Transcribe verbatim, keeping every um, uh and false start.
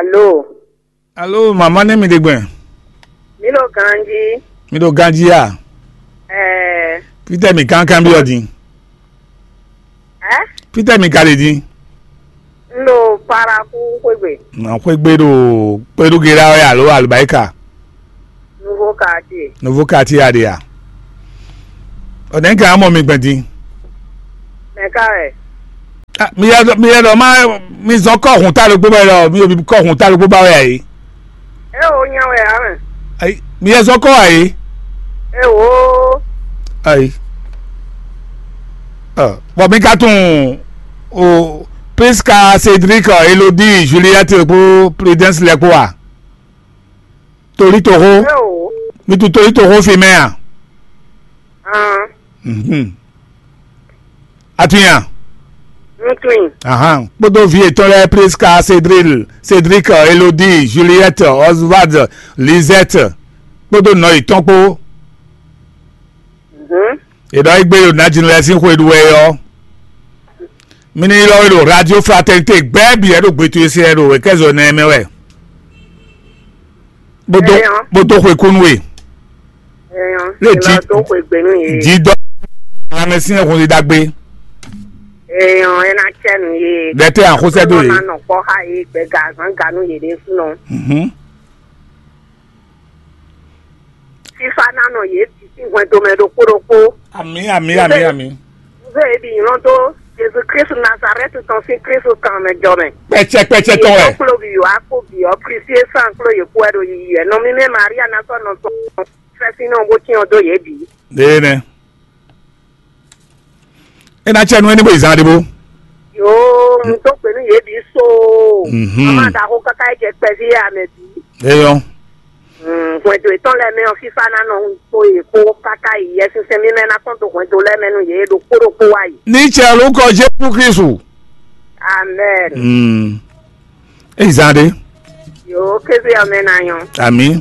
Alo. Alo, mama nɛ mi ɖe gbɛn? Mi ɖo ganji. Mi ɖo ganji a? Ɛɛ. Fitɛ mi kankan bi ɔdin? Ɛ? Fitɛ mi ka ɖe din? N ɖo Paraku xwegbe. Ma xwegbe ɖo kpeɖugera wɛ alo alubaika? Nouveau quartier. Nouveau quartier a ɖe a? Ɔdɛn ka mɔ mi gbɛn din? Mɛ ka wɛ? Ah, mi yɛ mi yɛ ɖɔ ma mi zɔn kɔ hun ta ɖokpó bɛ ɖɔ mi obi kɔ hun ta ɖokpó ba wɛ ayi. E o nya wɛ a mɛ. Ayi, mi yɛ zɔn kɔ ayi. E o. Ayi. Ah, bɔn mi ka tún o Prisca, Cédric, Elodie, Juliette kpó Prudence lɛ kpó wa. Torí toxó. E o. Mi tún torí toxó fi mɛ a? Hàn. Mhm. Atunya. N tun. Ahan. Kpódó vi yětɔn lɛ́ɛ Prisca, Cédric, Cédric, Elodie, Juliette, Oswald, Lisette kpódó nɔ yětɔn kpó. Mhm. È ɖɔ égbé ɖo Nǎjínú lɛ́ɛ sín xwe ɖu wɛ ɔ́, mi ní ylɔ́ we ɖo Radio Fraternité gbɛ́ bǐ wɛ ɖo gbe towe se wɛ ɖo wěkɛ́zɔ nɛ mɛ wɛ. Bó dó Eyɔn. Bó dó xwe kú nú we. Eyɔn. Lé Ela jí- dó xwe gbe nú yě. Jí dɔ lanmɛ sín ẹhun ɖagbe. Eyɔn, ena cɛ nú yě. Ɖɛtɛ àxósɛ dó yě. Ena nɔ kpɔ xa yě gbɛ gazan ga nú yě ɖésúnɔ. Mhm. Fífá ná nɔ yě bǐ sín hwɛndo mɛ ɖokpó ɖokpó. Amǐ, amǐ, amǐ, amǐ. Nzé yě bǐ nylɔ́ dó Jezu Kristu Nazarɛ́ti tɔn sín Kristu kan mɛ jɔ mɛ. Kpɛtsɛ kpɛtsɛ tɔn wɛ. Kplo bǐ wá kpó bǐ ɔ́, Kristi e sán kpló yě kú wɛ ɖo yiyi wɛ. Nɔ mímɛ́ Maria ná sɔ́ nɔ tɔn fɛ́sínnɔ bó cyɔ́n dó yě bǐ. Ɖe nɛ. É ná cɛ nú éní bó yi zan ɖé bó. Yoo, un dó gbe nú yě bǐ so. Mhm. Mama ɖaxó káká yi jɛ kpɛví amɛ bǐ. Eyɔn. Hwɛndo yětɔn lɛ́ɛ mɛ ɔ́, fífá ná nɔ kpó yě kpó káká yi Yɛsinsɛn mímɛ́ ná kɔn dó hwɛndo lɛ́ɛ mɛ nú yě ɖokpó ɖokpó wá yi. Ní cɛ lórúkọ Jésù Kristu. Amɛn. Mm. Èyí zan ɖé. Yòó kéze ɔmɛ ná nyɔ. Àmín.